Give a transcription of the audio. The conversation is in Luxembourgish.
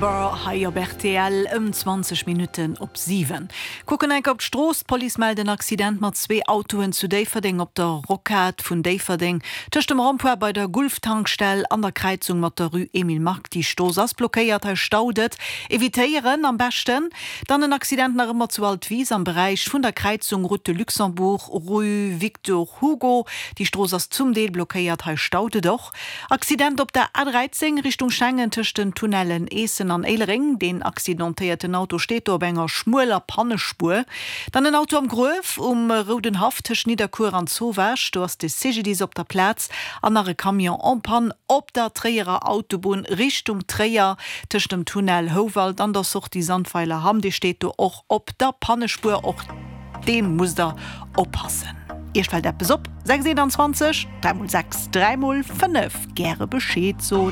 Remember hei op rtl ëm 20 Minutten op 7. Kucken enk op d'Strooss, D'Police mellt en Accident mat zwee Autoen zu Déifferdeng op der Rocade vun Déifferdeng, tëscht dem Rond-point bei der Gulf-Tankstell an der Kräizung mat der Rue Emile Mark. Déi Strooss ass blockéiert, hei staut et. Evitéieren am beschten. Dann en Accident nach ëmmer zu Altwis am Beräich vun der Kräizung Route de Luxembourg, Rue Victor Hugo. Déi Strooss ass zum Deel blockéiert, hei staut et och. Accident op der A13 Richtung Schengen tëscht den Tunnellen Eessen an Éilereng. Deen accidentéierten Auto steet do op enger schmueler Pannespuer. Dann en Auto am Gruef um Roudenhaff tëscht Nidderkuer an Zowaasch. Do ass de CGDIS op der Plaz. An nach e Camion en panne op der Tréierer Autobunn Richtung Tréier tëscht dem Tunnel Houwald an der Sortie Sandweiler-Hamm. Dee steet do och op der Pannespuer. Och deem musst der oppassen. Iech fält eppes op? 6 21 3 mol 6 3 mol 5 gäre Bescheed soen.